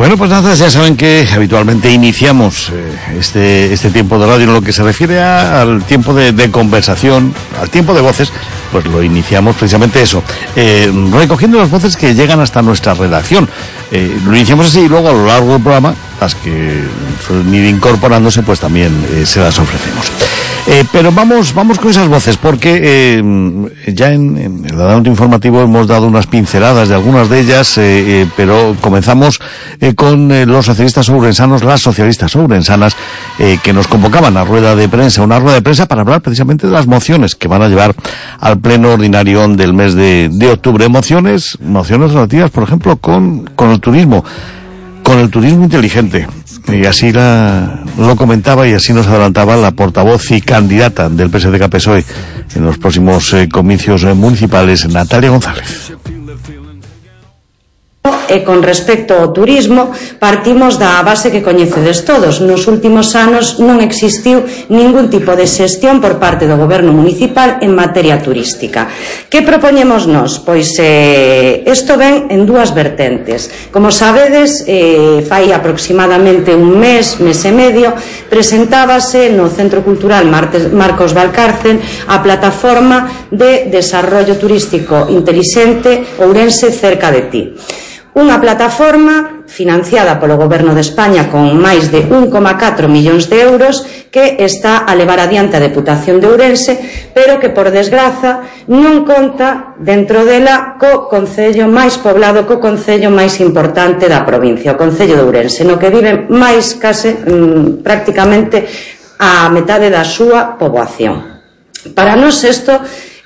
Bueno, pues nada, ya saben que habitualmente iniciamos este tiempo de radio en lo que se refiere al tiempo de conversación, al tiempo de voces, pues lo iniciamos precisamente eso, recogiendo las voces que llegan hasta nuestra redacción. Lo iniciamos así y luego a lo largo del programa, las que suelen ir incorporándose, pues también se las ofrecemos. Pero vamos con esas voces, porque ya en el adelanto informativo hemos dado unas pinceladas de algunas de ellas, pero comenzamos con los socialistas ourensanos, las socialistas ourensanas, que nos convocaban a una rueda de prensa para hablar precisamente de las mociones que van a llevar al pleno ordinario del mes de octubre. Mociones relativas, por ejemplo, con el turismo inteligente. Y así lo comentaba y así nos adelantaba la portavoz y candidata del PSD-PSOE en los próximos comicios municipales, Natalia González. Con respecto ao turismo, partimos da base que coñecedes todos. Nos últimos anos non existiu ningún tipo de xestión por parte do goberno municipal en materia turística. Que propoñemos nós? Pois isto ven en dúas vertentes. Como sabedes, fai aproximadamente un mes e medio, presentábase no Centro Cultural Marcos Valcárcel a plataforma de desarrollo turístico inteligente Ourense cerca de ti. Unha plataforma financiada polo Goberno de España con máis de 1,4 millóns de euros que está a levar adiante a Deputación de Ourense, pero que, por desgraza, non conta dentro dela co concello máis poblado, co concello máis importante da provincia, o concello de Ourense, no que viven máis case prácticamente a metade da súa poboación. Para nós isto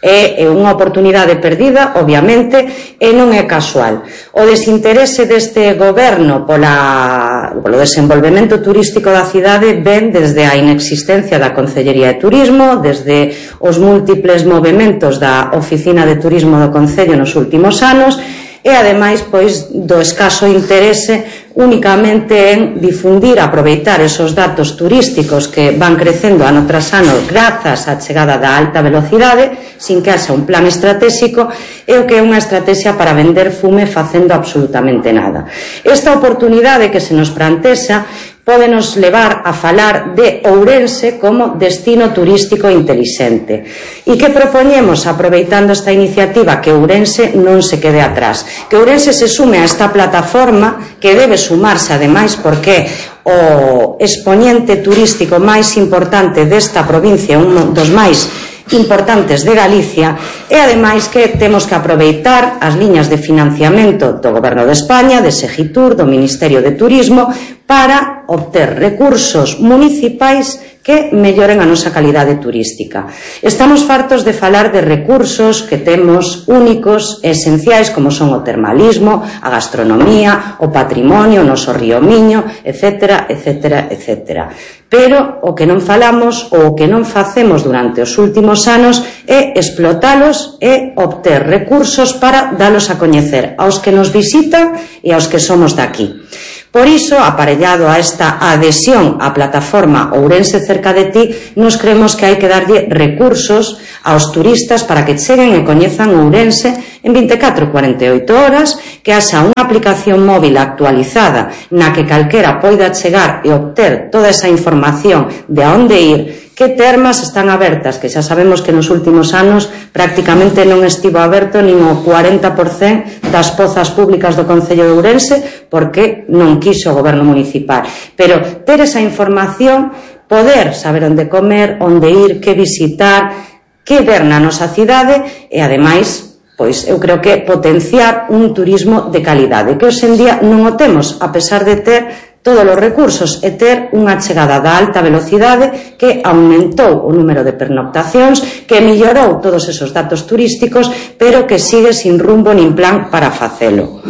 é unha oportunidade perdida, obviamente, e non é casual. O desinterese deste goberno polo desenvolvemento turístico da cidade ven desde a inexistencia da Concellería de Turismo, desde os múltiples movementos da Oficina de Turismo do Concello nos últimos anos, e ademais pois do escaso interese únicamente en difundir, aproveitar esos datos turísticos que van crecendo ano tras ano grazas á chegada da alta velocidade, sin que haxa un plan estratégico, e o que é unha estrategia para vender fume facendo absolutamente nada. Esta oportunidade que se nos plantexa pódenos levar a falar de Ourense como destino turístico intelixente. E que propoñemos, aproveitando esta iniciativa, que Ourense non se quede atrás, que Ourense se sume a esta plataforma, que debe sumarse ademais porque o expoñente turístico máis importante desta provincia, un dos máis importantes de Galicia, e ademais que temos que aproveitar as liñas de financiamento do Goberno de España, de Segitur, do Ministerio de Turismo, para obter recursos municipais que melloren a nosa calidade turística. Estamos fartos de falar de recursos que temos únicos e esenciais, como son o termalismo, a gastronomía, o patrimonio, o noso río Miño, etcétera, etcétera, etcétera. Pero o que non falamos ou o que non facemos durante os últimos anos é explotalos e obter recursos para dalos a coñecer aos que nos visitan e aos que somos daqui. Por iso, aparellado a esta adhesión á plataforma Ourense cerca de ti, nos creemos que hai que darlle recursos aos turistas para que cheguen e coñezan Ourense en 24 ou 48 horas, que haxa unha aplicación móvil actualizada na que calquera poida chegar e obter toda esa información de a onde ir, que termas están abertas, que xa sabemos que nos últimos anos prácticamente non estivo aberto nin o 40% das pozas públicas do Concello de Ourense, porque non quiso o goberno municipal. Pero ter esa información, poder saber onde comer, onde ir, que visitar, que ver na nosa cidade, e ademais, pois eu creo que potenciar un turismo de calidade, que hoxe en día non o temos, a pesar de ter todos os recursos e ter unha chegada da alta velocidade que aumentou o número de pernoctacións, que mellorou todos esos datos turísticos, pero que sigue sin rumbo nin plan para facelo.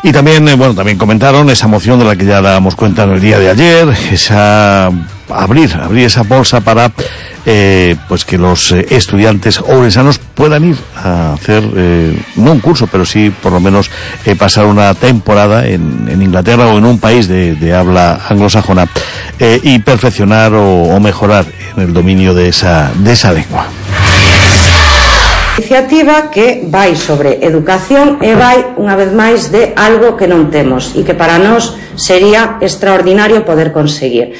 Y también, también comentaron esa moción de la que ya dábamos cuenta en el día de ayer, abrir esa bolsa para pues que los estudiantes ourensanos puedan ir a hacer no un curso, pero sí por lo menos pasar una temporada en Inglaterra o en un país de habla anglosajona y perfeccionar o mejorar en el dominio de esa lengua. Iniciativa que vai sobre educación e vai unha vez máis de algo que non temos e que para nós sería extraordinario poder conseguir.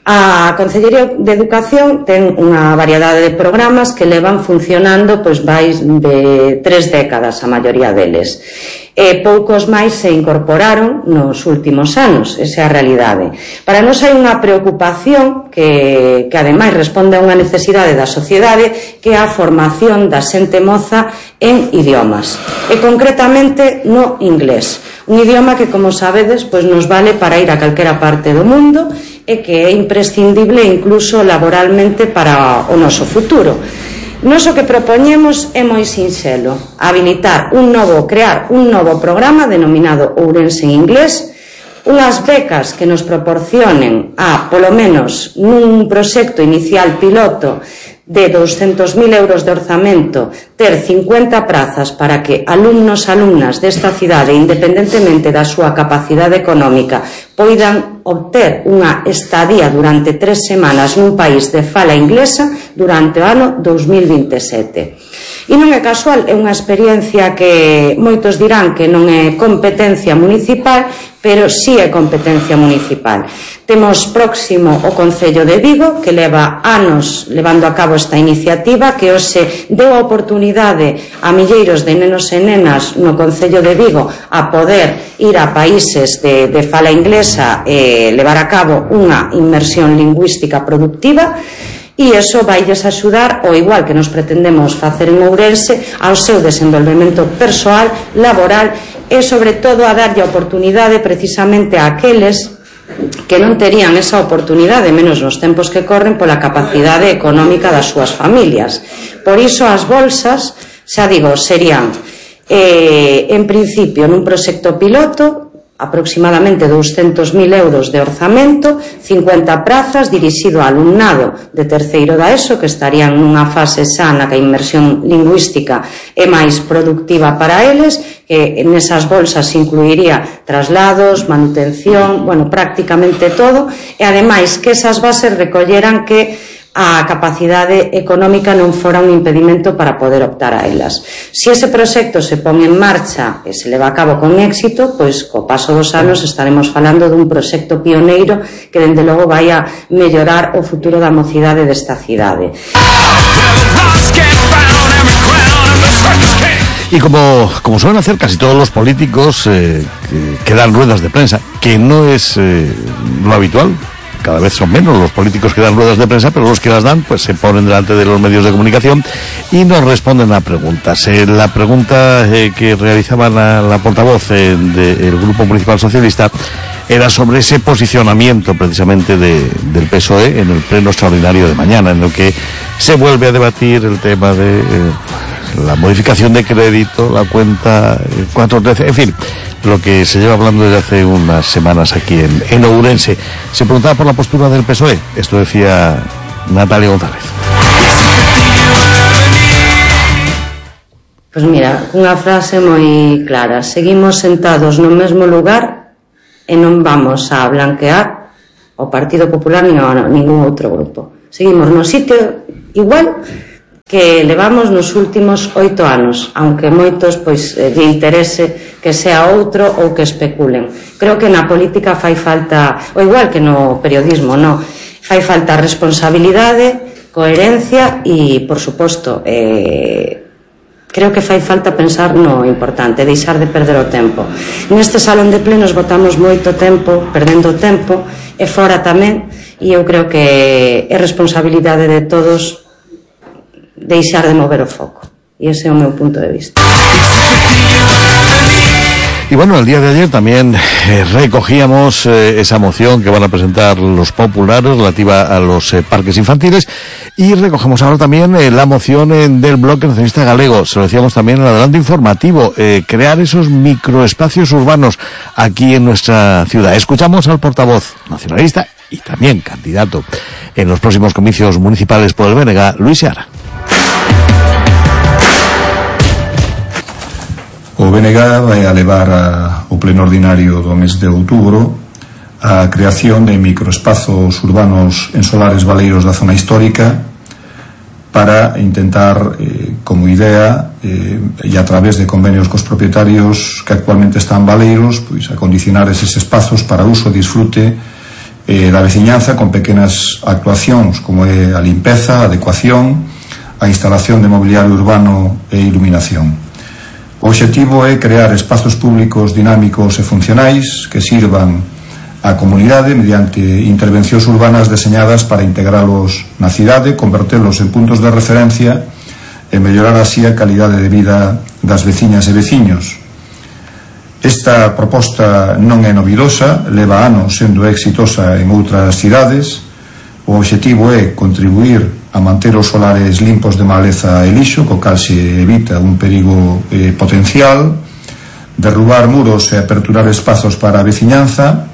A Consellería de Educación ten unha variedade de programas que levan funcionando pois máis de 3 décadas, a maioría deles. E poucos máis se incorporaron nos últimos anos, esa é a realidade. Para nós hai unha preocupación que ademais responde a unha necesidade da sociedade, que é a formación da xente moza en idiomas, e concretamente no inglés, un idioma que, como sabedes, pois nos vale para ir a calquera parte do mundo e que é imprescindible incluso laboralmente para o noso futuro. Nós o que propoñemos é moi sinxelo, crear un novo programa denominado Ourense en Inglés, unhas becas que nos proporcionen polo menos nun proxecto inicial piloto de 200.000 euros de orzamento, ter 50 prazas para que alumnos e alumnas desta cidade, independentemente da súa capacidade económica, poidan obter unha estadía durante 3 semanas nun país de fala inglesa durante o ano 2027. E non é casual, é unha experiencia que moitos dirán que non é competencia municipal, pero sí é competencia municipal. Temos próximo o Concello de Vigo, que leva anos levando a cabo esta iniciativa, que hoxe deu a oportunidade a milleiros de nenos e nenas no Concello de Vigo a poder ir a países de fala inglesa e levar a cabo unha inmersión lingüística productiva, e iso vailles axudar, ao igual que nos pretendemos facer en Ourense, ao seu desenvolvemento persoal, laboral e, sobre todo, a darlle a oportunidade precisamente a aqueles que non terían esa oportunidade, menos nos tempos que corren, pola capacidade económica das súas familias. Por iso as bolsas, xa digo, serían en principio nun proxecto piloto aproximadamente 200.000 euros de orzamento, 50 prazas dirixido ao alumnado de terceiro da ESO, que estarían nunha fase xa na que a inmersión lingüística é máis productiva para eles, que nesas bolsas incluiría traslados, manutención, prácticamente todo, e ademais que esas bases recolleran que a capacidade económica non fora un impedimento para poder optar a elas. Se ese proxecto se pon en marcha e se leva a cabo con éxito, pois co paso dos anos estaremos falando dun proxecto pioneiro que dende logo vai a mellorar o futuro da mocidade desta cidade. Y como suelen hacer casi todos los políticos que dan ruedas de prensa, que no es lo habitual, cada vez son menos los políticos que dan ruedas de prensa, pero los que las dan pues se ponen delante de los medios de comunicación y nos responden a preguntas. La pregunta que realizaba la portavoz del Grupo Municipal Socialista era sobre ese posicionamiento precisamente del PSOE en el pleno extraordinario de mañana, en el que se vuelve a debatir el tema de la modificación de crédito, la cuenta 413, en fin, lo que se lleva hablando desde hace unas semanas aquí en Ourense. Se preguntaba por la postura del PSOE. Esto decía Natalia González. Pois mira, unha frase moi clara: seguimos sentados no mesmo lugar e non vamos a blanquear o Partido Popular nin a ningún outro grupo. Seguimos no sitio igual que levamos nos últimos 8 anos, aunque moitos pois lle interese que sea outro ou que especulen. Creo que na política fai falta, ou igual que no periodismo, fai falta responsabilidade, coherencia e, por suposto, creo que fai falta pensar no importante, deixar de perder o tempo. Neste salón de plenos botamos moito tempo, perdendo tempo, e fora tamén, e eu creo que é responsabilidade de todos deixar de mover o foco. Y ese é o meu punto de vista. Y bueno, el día de ayer también recogíamos esa moción que van a presentar los populares relativa a los parques infantiles, y recogemos ahora también la moción del Bloque Nacionalista Galego. Se lo decíamos también en el adelanto informativo, crear esos microespacios urbanos aquí en nuestra ciudad. Escuchamos al portavoz nacionalista y también candidato en los próximos comicios municipales por el BNG, Luis Seara. O BNG vai a levar ao pleno ordinario do mes de outubro a creación de microespazos urbanos en solares baleiros da zona histórica para intentar, como idea, e a través de convenios cos propietarios que actualmente están baleiros, pois acondicionar eses espazos para uso e disfrute da veciñanza con pequenas actuacións como é a limpeza, a adecuación, a instalación de mobiliario urbano e iluminación. O obxectivo é crear espazos públicos dinámicos e funcionais que sirvan á comunidade mediante intervencións urbanas deseñadas para integralos na cidade, convertelos en puntos de referencia e mellorar así a calidade de vida das veciñas e veciños. Esta proposta non é novidosa, leva anos sendo exitosa en outras cidades. O obxectivo é contribuir a manter os solares limpos de maleza e lixo, co cal se evita un perigo potencial, derrubar muros e aperturar espazos para a veciñanza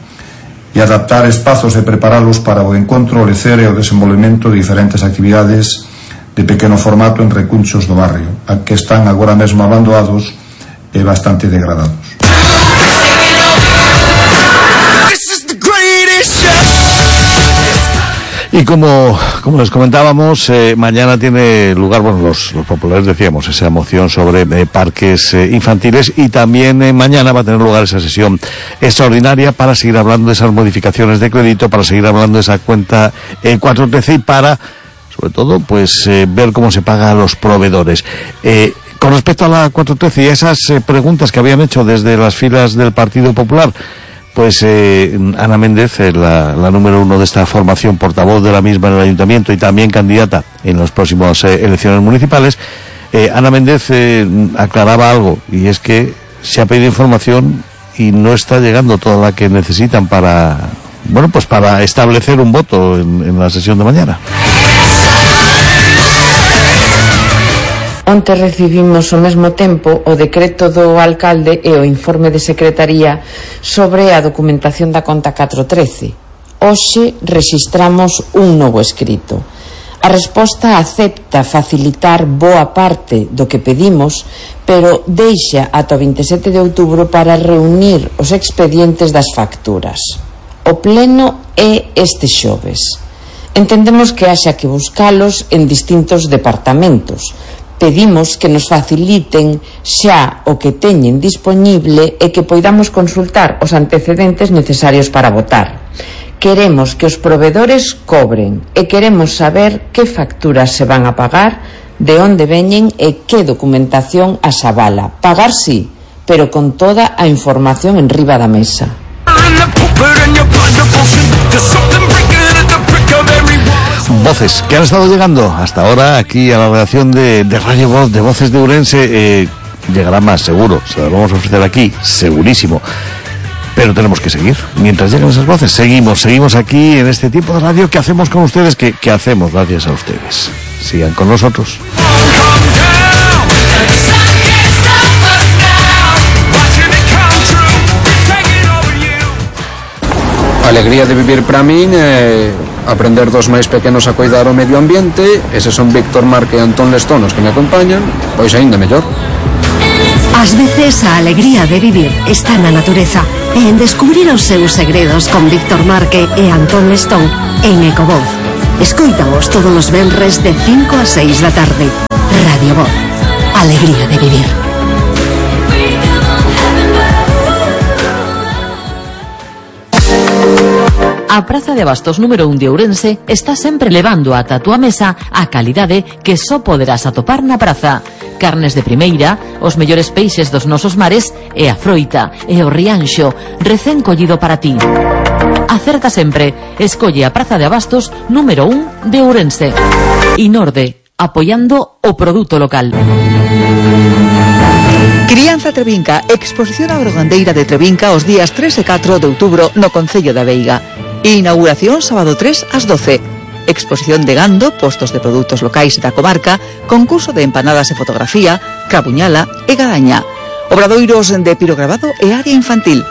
e adaptar espazos e preparalos para o encontro, o lecer e o desenvolvemento de diferentes actividades de pequeno formato en recunchos do barrio, que están agora mesmo abandonados e bastante degradados. Y como les comentábamos, mañana tiene lugar, bueno, los populares decíamos, esa moción sobre parques infantiles, y también mañana va a tener lugar esa sesión extraordinaria para seguir hablando de esas modificaciones de crédito, para seguir hablando de esa cuenta 413 y para, sobre todo, pues ver cómo se paga a los proveedores. Con respecto a la 413 y a esas preguntas que habían hecho desde las filas del Partido Popular, pues Ana Méndez, la número 1 de esta formación, portavoz de la misma en el Ayuntamiento y también candidata en las próximas elecciones municipales, Ana Méndez aclaraba algo, y es que se ha pedido información y no está llegando toda la que necesitan para, bueno, pues para establecer un voto en la sesión de mañana. Onte recibimos ao mesmo tempo o decreto do alcalde e o informe de secretaría sobre a documentación da conta 413. Hoxe rexistramos un novo escrito. A resposta acepta facilitar boa parte do que pedimos, pero deixa ata o 27 de outubro para reunir os expedientes das facturas. O pleno é este xoves. Entendemos que haxa que buscalos en distintos departamentos. Pedimos que nos faciliten xa o que teñen dispoñible e que poidamos consultar os antecedentes necesarios para votar. Queremos que os provedores cobren e queremos saber que facturas se van a pagar, de onde veñen e que documentación as avala. Pagar sí, pero con toda a información en riba da mesa. Voces que han estado llegando hasta ahora aquí a la redacción de Radio Voz, de Voces de Ourense. Llegará más, seguro, se lo vamos a ofrecer aquí, segurísimo, pero tenemos que seguir. Mientras llegan esas voces, seguimos aquí en este tiempo de radio que hacemos con ustedes, que hacemos gracias a ustedes. Sigan con nosotros. A alegría de vivir para min é aprender dos máis pequenos a cuidar o medio ambiente. Eses son Víctor Marque e Antón Lestón os que me acompañan, pois aínda mellor. Ás veces a alegría de vivir está na natureza e en descubrir os seus segredos con Víctor Marque e Antón Lestón en Ecovoz. Escoítaos todos os venres de 5 a 6 da tarde. Radio Voz, alegría de vivir. A Praza de Abastos número 1 de Ourense está sempre levando ata a túa mesa a calidade que só poderás atopar na praza. Carnes de primeira, os mellores peixes dos nosos mares e a froita e o rianxo recén collido para ti. Acerta sempre, escolle a Praza de Abastos número 1 de Ourense. Inorde, apoiando o produto local. Crianza Trevinca, exposición agrogandeira de Trevinca os días 3 e 4 de outubro no Concello da Veiga. Inauguración sábado 3 ás 12. Exposición de gando, postos de produtos locais da comarca, concurso de empanadas e fotografía, crabuñala e gadaña. Obradoiros de pirograbado e área infantil.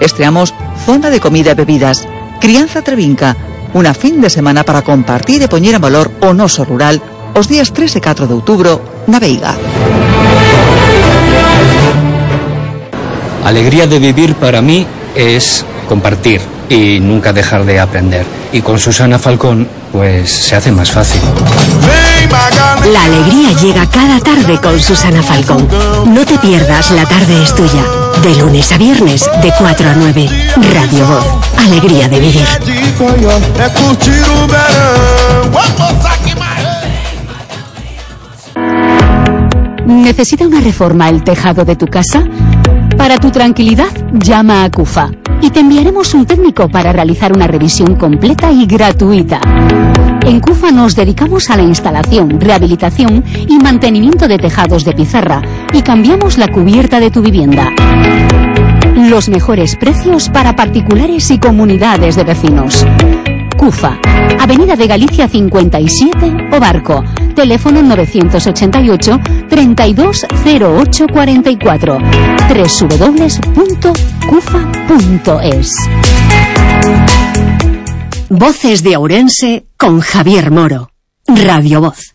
Estreamos zona de comida e bebidas. Crianza Trevinca, unha fin de semana para compartir e poñer en valor o noso rural os días 3 e 4 de outubro na Veiga. Alegría de vivir para mí es compartir y nunca dejar de aprender. Y con Susana Falcón pues se hace más fácil. La alegría llega cada tarde con Susana Falcón. No te pierdas La Tarde es Tuya. De lunes a viernes, de 4 a 9. Radio Voz. Alegría de vivir. ¿Necesita una reforma el tejado de tu casa? Para tu tranquilidad, llama a CUFA y te enviaremos un técnico para realizar una revisión completa y gratuita. En CUFA nos dedicamos a la instalación, rehabilitación y mantenimiento de tejados de pizarra y cambiamos la cubierta de tu vivienda. Los mejores precios para particulares y comunidades de vecinos. CUFA, Avenida de Galicia 57 o Barco, teléfono 988 320844, www.cufa.es. Voces de Ourense con Javier Moro. Radio Voz.